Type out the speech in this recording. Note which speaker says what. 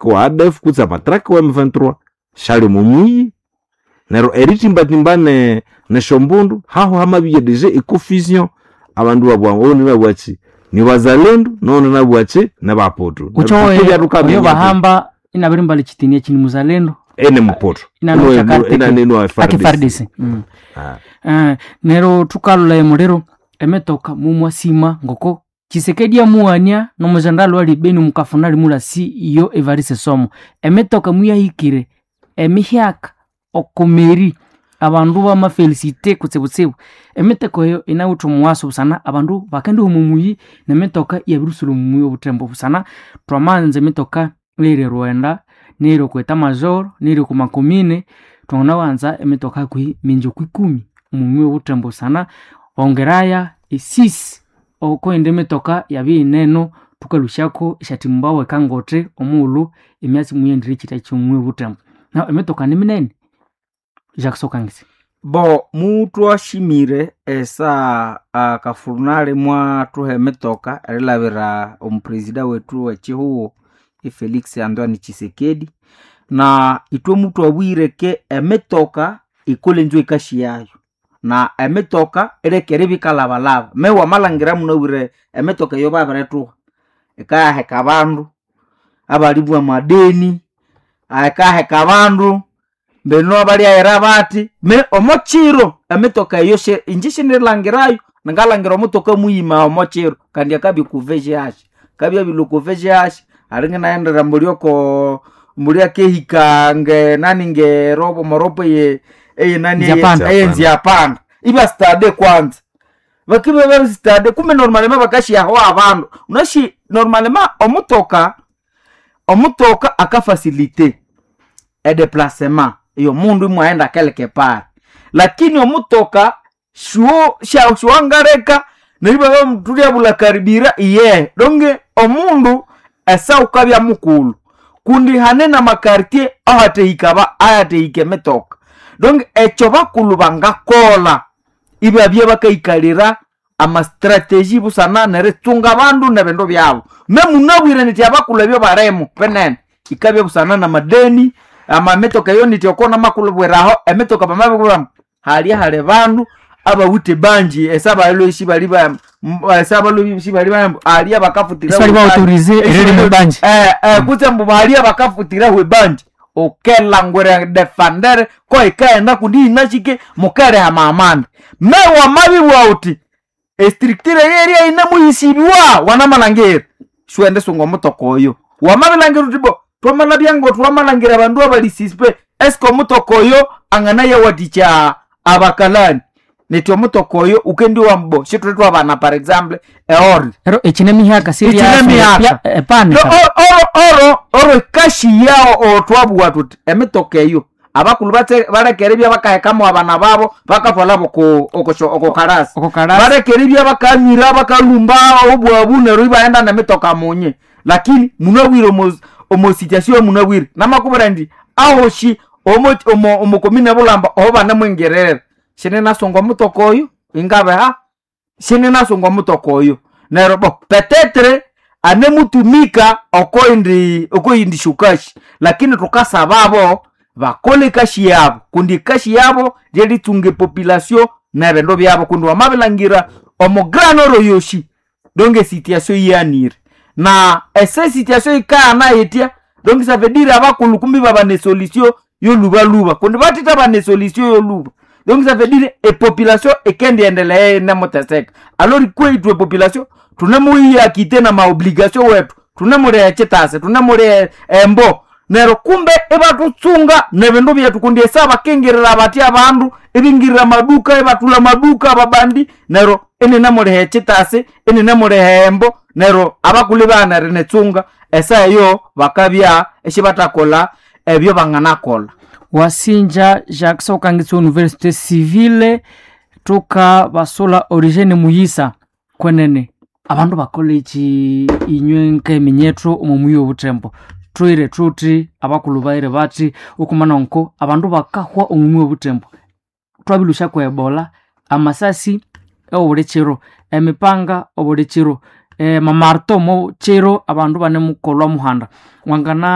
Speaker 1: Wa ADF kutse amatraka wa M23 shali omo muyi. Neryo eritimbatimba nesyombundu haho hamabya deja econfusion, abandu babugha ogundi inabugha athi ni wazalendo noghundi inabugha athi nibaputu.
Speaker 2: Oyo bahamba inabirimbala ekitini eki ni muzalendo.
Speaker 1: Ene muputu. Inanenwa
Speaker 2: FARDC. Neryo thukalolha emuliro emitoka mumwasima ngoko Tshisekedi amughania nomujenerali wali Beni mukafuna limulasi iyo Evariste Somo. Emitoka muyahikire emihyaka okomeri abandu bamafelicite kutsibutsibu. Emitoka eyo inawithe omuwaso busana abandu bakendiha omo muyi nemitoka iyabirisula omo muyi obuthembo busana twamanza emitoka eyiri erwenda, neyiri okwa eta major, neyiri okwa makomine, twanganawanza emitoka hakuhi mingi okwikumi omo muyi obuthembo busana bongeraya esisi okwindi emitoka yabya iyineno thukalhusyako esyathimbawa ekangothi omughulhu emyatsi muyendire ekyita ky'omuyi obuthembo. Nahu emitoka niminene. Jacques Sokangisi.
Speaker 3: Bo mutwashimire esa akafurunale mwathuha emitoka erilabira omupresida wethu wekihugho Felix Antoine Tshisekedi, na ithwe mutwabwire ke emitoka ikole inzo ekashi yayo, na emitoka ileke eribya ikalabalaba. Me wamalhangira munabwire emitoka eyo babirithuha ikayaheka abandu abalibwa amadeni, ikaheka abandu mbino abalyaghira bathi me omo kiro emitoka eyo inje shindirilhangirayo, ningalhangira omutoka muyima omo kiro kandi akabya oku VGH, akabya abilhwa oku VGH alinga inaghendera mbuli oko mbuli akehika nge nani ngerobo moropo eye eyenani eyenziapanda ibya stade kwanza bakibya babiri stade kumbe normalement bakasyaho abandu unashi normalement omutoka omutoka akafacilite edeplacement eyomundu imwaghenda keleke pale, lakini omutoka shuo shuwangaleka neryo ibabya karibira iyehe donge omundu esa wukabya mukulhu kundi hane namakartier ahathehika ahathehika emitoka, donge ekyo bakulhu bangakolha ibabya bakayikalira amastrategy busana neritsunga abandu nebindu byabu. Me munabwire nithi abakulhu ebyo balimu binene ikabya busana namadeni amamitoka eyo nithi oko namakulhubwiraho emitoka bamabibwira halya hali bandu abawithe ebanji esa balhwe sibali ba esa balhwe sibali ba alya bakafutira
Speaker 2: Esibali ba autorize eririma ebanji.
Speaker 3: Kutse ambu balya bakafutiraho ebanji ukelangwira defender ko ikaghenda kundi yinashike mukeriha amamanda. Me wamabibugha wuthi estructure eyerya yinemuhisibwa wanamalhangira siwende sunga omutoka oyo. Wamabilhangira wuthi bo twamalabya ngo twamalhangira abandu abali suspect eske omutoka oyo anganayawathikya abakalani nithi omutoka oyo wukendiwa ambu bo sithuli thwabana par example eorder.
Speaker 2: Neryo ekine mihaka
Speaker 3: Ekine mihaka.
Speaker 2: epana.
Speaker 3: Oro oro ekashi yawo thwabugha thuthi emitoka eyo abakulhu baleke eribya bakahekamu abana babo bakathwalabo oko kalasi, baleke eribya bakanywira bakalhumba obwabu neryo ibaghenda nemitoka munye, lakini munabwire omo situation munabwire namakubwira indi ahoshi omo komine Bulamba oho banemwingirira sininasunga omutoka oyo ingabiha sininasunga omutoka oyo neryo bo petetre anemutumika okoindi okoyindi shukashi, lakini thukasababo bakole ekashi yabo kundi ekashi yabo lyerithunga epopulation nebindu byabo kundi wamabilhangira omo grand nord yoshi donc esituation yihanire na ese situation yikaghana yitya donc ça veut dire abakulhu kumbi babana esolution yolhubalhuba kundi bathitha bana esolution yolhuba donc ça veut dire epopulation ikendiendelea inemuteseka. Alors kwethu epopulation thunemuyiakite namaobligation wethu thunemuliha ekyitasi thunemuliha embo neryo kumbe ibathutsunga nebindu byethu kundi esa bakingirira bathi abandu ibingirira amaduka ibathulha amaduka ababandi neryo ininemuliha ekyitasi ininemuliha embo neryo abakulhu ibaghana erinitsunga esa eyo bakabya isibathakolha ebyo banganakolha.
Speaker 2: Wasinja Jacques Sokangitsi Université Civile thuka basula Origene Muyisa kwenene abandu bakola eki inywe nkeminyethu omo muyi obuthembo thuire thuthi abakulhu baghire bathi okumana nko abandu bakahwa omu muyi obuthembo thwabilhusya kwe ebola amasasi obuli kiro emipanga obuli kiro. mamarto mo chiro abandu banemukolwa muhanda wangana.